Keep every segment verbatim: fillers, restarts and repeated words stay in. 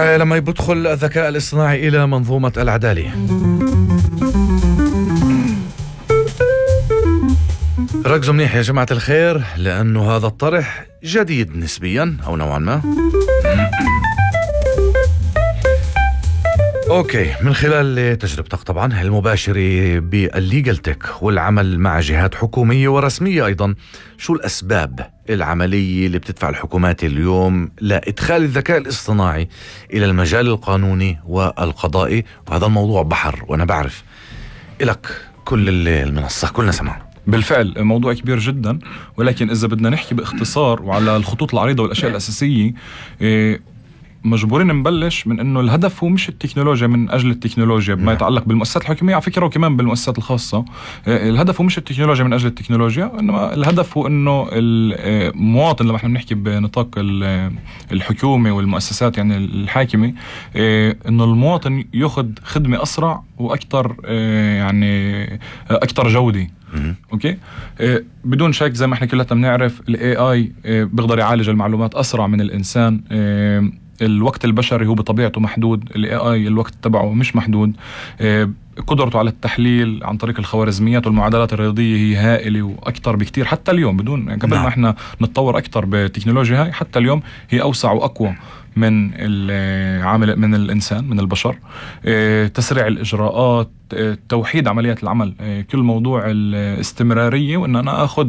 لما يدخل الذكاء الاصطناعي إلى منظومة العدالة. ركزوا منيح يا جماعة الخير، لأنه هذا الطرح جديد نسبيا أو نوعا ما. أوكي، من خلال تجربتك طبعا المباشرة بالليجل تك والعمل مع جهات حكومية ورسمية أيضا، شو الأسباب العملية اللي بتدفع الحكومات اليوم لإدخال الذكاء الاصطناعي إلى المجال القانوني والقضائي؟ وهذا الموضوع بحر وأنا بعرف إلك كل المنصة، كلنا سمع. بالفعل موضوع كبير جدا، ولكن إذا بدنا نحكي باختصار وعلى الخطوط العريضة والأشياء الأساسية، إيه مجبورين نبلش من انه الهدف هو مش التكنولوجيا من اجل التكنولوجيا بما يتعلق بالمؤسسات الحكوميه على فكره، وكمان بالمؤسسات الخاصه. الهدف هو مش التكنولوجيا من اجل التكنولوجيا، انما الهدف هو انه المواطن، لما احنا بنحكي بنطاق الحكومه والمؤسسات يعني الحاكمه، انه المواطن ياخذ خدمه اسرع واكثر، يعني اكثر جوده. اوكي، بدون شك زي ما احنا كلنا بنعرف الاي اي بيقدر يعالج المعلومات اسرع من الانسان. الوقت البشري هو بطبيعته محدود، الاي اي الوقت تبعه مش محدود. قدرته على التحليل عن طريق الخوارزميات والمعادلات الرياضيه هي هائله واكثر بكتير. حتى اليوم بدون يعني قبل ما احنا نتطور اكثر بالتكنولوجيا هاي، حتى اليوم هي اوسع واقوى من العامل من الانسان من البشر. تسريع الاجراءات، توحيد عمليات العمل، كل موضوع الاستمراريه، وان انا اخذ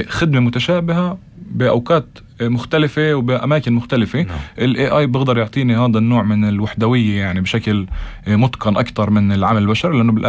خدمه متشابهه باوقات مختلفة وبأماكن مختلفة. الاي اي بيقدر يعطيني هذا النوع من الوحدوية يعني بشكل متقن أكتر من العمل البشري، لأنه